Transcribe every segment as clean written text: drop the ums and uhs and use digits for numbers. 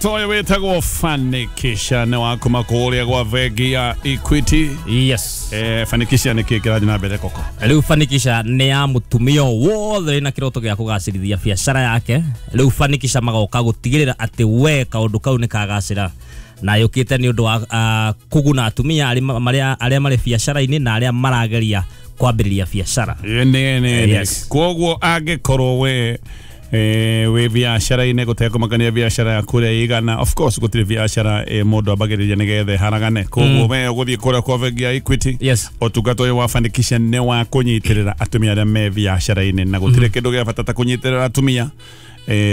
Toyo wĩtagwo Fanikisha nĩ wa kuma kũrĩa gwa bengi ya Equity. Yes. Fanikisha nĩ kĩ kĩrathiĩ na mbere koko? Rĩu Fanikisha nĩ ya mũtumia wothe wĩna kĩroto gĩa kũgacĩrithia biacara yake. Rĩu Fanikisha magoka gũtigĩrĩra atĩ we kaũndũ kau nĩ kagacĩra, na yũkĩte nĩ ũndũ wa kũguna atumia arĩa marĩ biacara-inĩ na arĩa marageria kwambĩrĩria biacara. Yes. Koguo angĩkorwo we wĩ biacara-inĩ gũtekũmakania biacara yaku ũrĩa ĩigana, of course gũtirĩ biacara mũndũ ambagĩrĩria nĩgetha ĩharagane. Koguo we ũgũthiĩ kũrĩa kwa bengi ya Equity. Yes. Ũtungata ũyũ wa Fanikisha nĩ wa kũnyitĩrĩra atumia arĩa me biacara-inĩ, na gũtirĩ kĩndũ gĩa bata ta kũnyitĩrĩra atumia,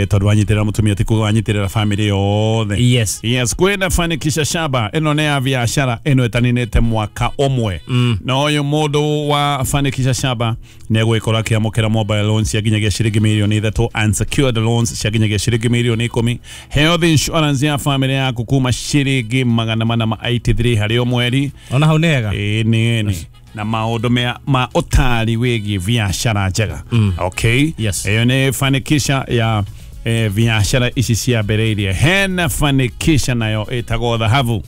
tondũ wanyitĩrĩra mũtumia ti kuga wanyitĩrĩra family yothe. Yes. Yes, kwĩna Fanikisha Shaba ĩno nĩ ya biacara ĩno ĩtaninĩte mwaka ũmwe. Na ũyũ mũndũ wa Fanikisha Shaba nĩ egũgĩkorwo akĩamũkĩra mobile loans cia nginyagia ciringi mirioni 3, unsecured loans cia nginyagia ciringi mirioni 10, health insurance ya family yaku kuma ciringi 483 harĩ o mweri. Ona hau nĩ hega. Nĩ na maũndũ ma ũtari wĩgiĩ biacara njega. Okay. Yes. Ĩyo nĩ Fanikisha ya biacara ici ciambĩrĩirie. Hena Fanikisha nayo ĩtagwo Dhahabu.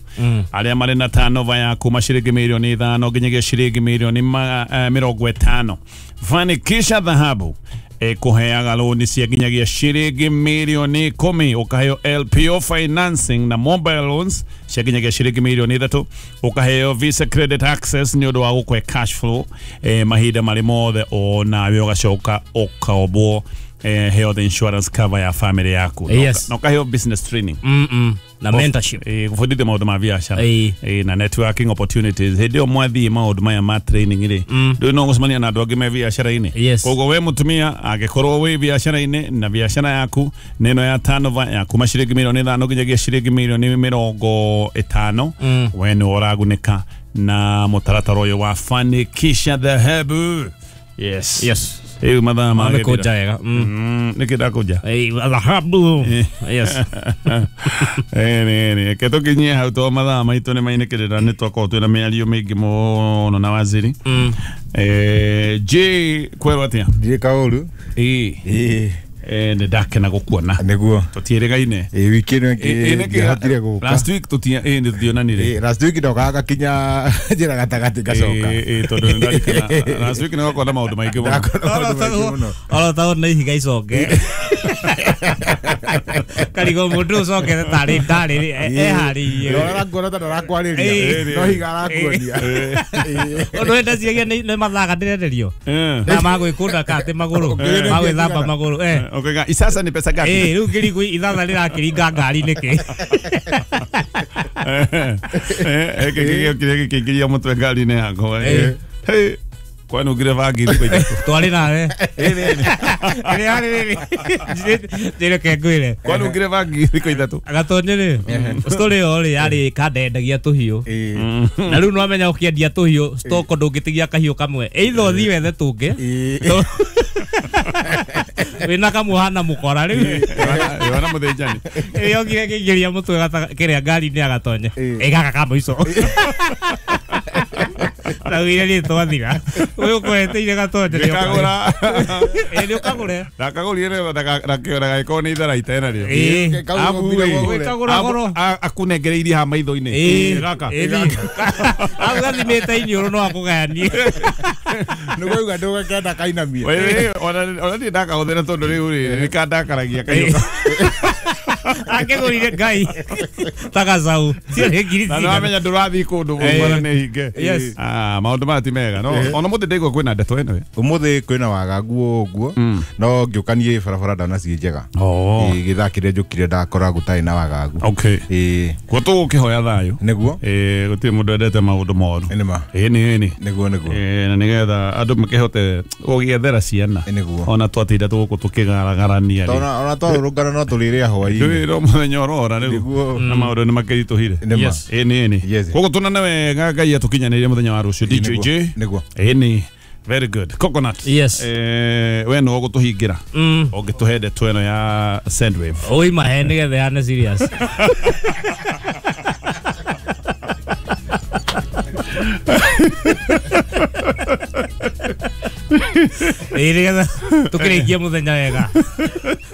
Arĩa marĩ na turnover ya kuma ciringi mirioni 5 nginyagia ciringi mirioni 50. Fanikisha Dhahabu ĩkũheaga loan cia nginyagia ciringi mirioni 10, ũkaheo LPO financing na mobile loans cia nginyagia ciringi mirioni 3, ũkaheo Visa credit access nĩ ũndũ wa gũkũhe cash flow mahinda marĩ mothe, onawe ũgacoka ũkaombwo health insurance cover ya family yaku. Yes. Na ũkaheo business training na mentorship, gũbundithio maũndũ ma biacara na networking opportunities. Hĩndĩ ĩyo mwathiĩ maũndũ maya ma training rĩ, ndũĩ no gũcemania na andũ angĩ me biacara-inĩ. Yes. Koguo we mũtumia angĩkorwo wĩ biacara-inĩ na biacara yaku nĩ ĩno ya turnover ya kuma ciringi mirioni 5 nginyagia ciringi mirioni 50, we nĩ ũragunĩka na mũtaratara ũyũ wa Fanikisha Dhahabu. Yes. Yes. Rĩu mathaa magĩthira. Amekũnja wega. Nĩkĩ ndakũnja? Dhahabu. Yes. Nĩ reke tũkinyie hau to mathaa maitũ nĩ mainĩkĩrĩra, nĩ twakorwo twĩna mĩario mĩingĩ mũno na waziri. J kwerwo atĩa? Ndirĩ kaũru. Ĩĩ. Nĩ ndakena gũkuona. Nĩguo. Tũtiĩrĩgaine. Wiki ĩno ĩngĩ ndiahotire gũka. Last week nĩ tũtionanire. Last week ndokaga gakinya njĩra gatagatĩ ngacoka. Tondũ nĩ ndarikana last week nĩ gwakorwo na maũndũ maingĩ mũno. Oro tao nĩ ihiga icoke. Karigo mũndũ ũcokete tarĩ ndarĩ eharĩirie. Ũrakuona ta ndarakwarĩria. No higa arakuonia. Ũndũ wenda ciagia nĩ mathaga ndĩrenderio. Na magwĩkũnda ka atĩ magũrũ. Magwĩthamba magũrũ. Okay, isasa ni pesa gapi? Rĩu ngĩrigwo ithatha rĩrakĩringa ngari nĩkĩ? Kĩrĩa gĩkĩingĩria mũtwe ngari-inĩ yakwa. Kwanungire bangi thikũ ithatũ. Twarĩ nawe. Njĩreke ngwĩre. Kwanungire bangi thikũ ithatũ. Gatonye rĩ, story ĩyo rĩ yarĩ kandendagia tũhiũ. Na rĩu nĩwamenya ũkĩendia tũhiũ stock ndũngĩtigia kahiũ kamwe. Either ũthiĩ wethe tũngĩ. Wĩna kamwe hana mũkora rĩu. Wana mũthĩnjani. Yokire kĩingĩria mũtwe kĩrĩa ngari-inĩ ya Gatonye. Gaka ka mũico. Raugire nĩ twathira. Ũyũ ũkũreteire Gatonye nĩ Ndakagũra. Nĩ ũkagũre. Ndakagũrire ndagagĩkorwo nĩ itharaita ena rĩo. Wĩkagũra goro. Akũnengereirie haha maitho-inĩ. Gaka. Hau gathimĩte iniũrũ no akũgayanie. Nĩguo ndũgakenda kainamie. Ona niĩ ndakahũthĩra tondũ rĩu rĩ nĩkandakaragia kahiũ. Akĩgũrire Ngai ta gacau. Ciarĩ ngiri Na nĩwamenya ndũrathiĩ kũndũ bara nĩ hinge. Yes. Maũndũ maya ti mega. No ona mũthĩ ndaigua kwĩna ndeto ĩno. Ũmũthĩ kwĩna wagagu ũguo, no ngĩũkanie barabara ndona ciĩ njega. Gĩthaa kĩrĩa njũkire ndakora gũtarĩ na wagagu. Okay. Kuo tũgũkĩhoya thayũ. Nĩguo. Gũtirĩ mũndũ endete maũndũ moru. Nĩma. Ĩni. Nĩguo nĩguo. Na nĩgetha andũ makĩhote gũgĩethera ciana. Nĩguo. Ona twatinda tũgũkũ tũkĩgaragarania rĩ. Ona twarũrũngana no tũrĩrĩa hwaĩ-inĩ. Ndũĩ no mũthenya ũrora rĩu. Na maũndũ nĩ makĩritũhire. Nĩma. Ĩni. Yes. Koguo tuonane wega Ngai atũkinyanĩrie mũthenya wa rũciũ. DJ J. Nĩguo. Ĩni. Very good. Coconut. Yes. We no ũgũtũhingĩra. Ũngĩtũhe ndeto ĩno ya Sendwave. Oi mahe nĩgetha ĩhane serious. Nĩgetha tũkĩrĩkie mũthenya wega.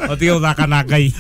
Ũtige gũthaka na Ngai.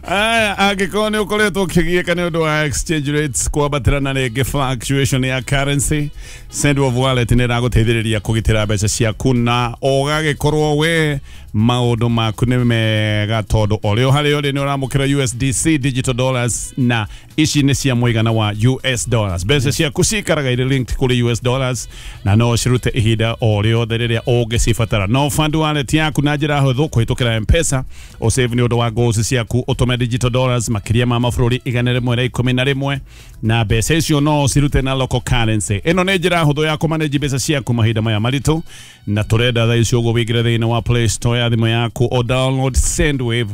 Aya, angĩkorwo nĩ ũkoretwo ũkĩgiĩka nĩ ũndũ wa exchange rates kwambatĩra na rĩngĩ fluctuation ya currency, Sendwave Wallet nĩ ĩragũteithĩrĩria kũgitĩra mbeca ciaku na ũgagĩkorwo we maũndũ maku nĩ mega tondũ ũrĩ o harĩa ũrĩ nĩ ũramũkĩra USDC digital dollars na ici nĩ cia mũigana wa US dollars. Mbeca ciaku cikaraga irĩ linked kũrĩ US dollars na no ũcirute ihinda o rĩothe rĩrĩa ũngĩcibatara. No fund wallet yaku na njĩra hũthũ kũhĩtũkĩra M-Pesa, ũsave nĩ ũndũ wa goals ciaku, ũtũme digital dollars makĩria ma mabũrũri 111 na mbeca icio no ũcirute na local currency. Ĩno nĩ njĩra hũthũ ya kũmanage mbeca ciaku mahinda maya maritũ na tũrenda thaa ici ũguo wĩingĩre thĩinĩ wa Play Store ya thimũ yaku o download Sendwave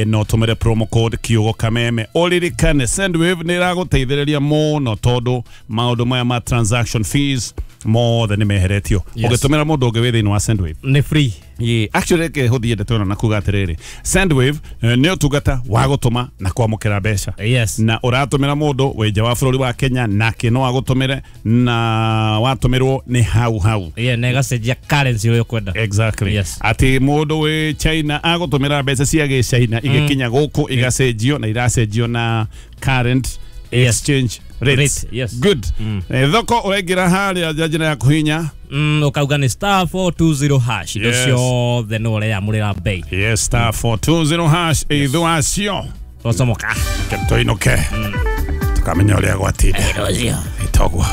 no tũmĩre promo code kiugo kameme. Ũririkane Sendwave nĩ ĩragũteithĩrĩria mũno tondũ maũndũ maya ma transaction fees mothe nĩ meheretio. Yes. Ũngĩtũmĩra mũndũ ũngĩ wĩ thĩinĩ wa Sendwave Nĩ free. Yeah, actually reke hũthie ndeto ĩno na kuga atĩrĩrĩ, Sendwave nĩ ũtungata wa gũtũma na kwamũkĩra mbeca. Yes. Na ũratũmĩra mũndũ wĩ nja wa bũrũri wa Kenya nake no agũtũmĩre na watũmĩrwo nĩ hau hau. Yeah, na ĩgacenjia currency ũrĩa ũkwenda. Exactly. Yes. Atĩ mũndũ wĩ China agũtũmĩra mbeca cia gĩcaina igĩkinya gũkũ igacenjio na iracenjio na current Yes. exchange rates. Rate, yes. Good. Thoko ũraingĩra harĩa njĩra ya kũhinya. Ũkauga nĩ star 420 hash. Indo Yes. ciothe nĩ ũreyamũrĩra bei. Yes, star 420 hash ithu acio. Twacomoka. Tũinũke. Tũkamenya ũrĩa gwatinda. Ĩtogwo.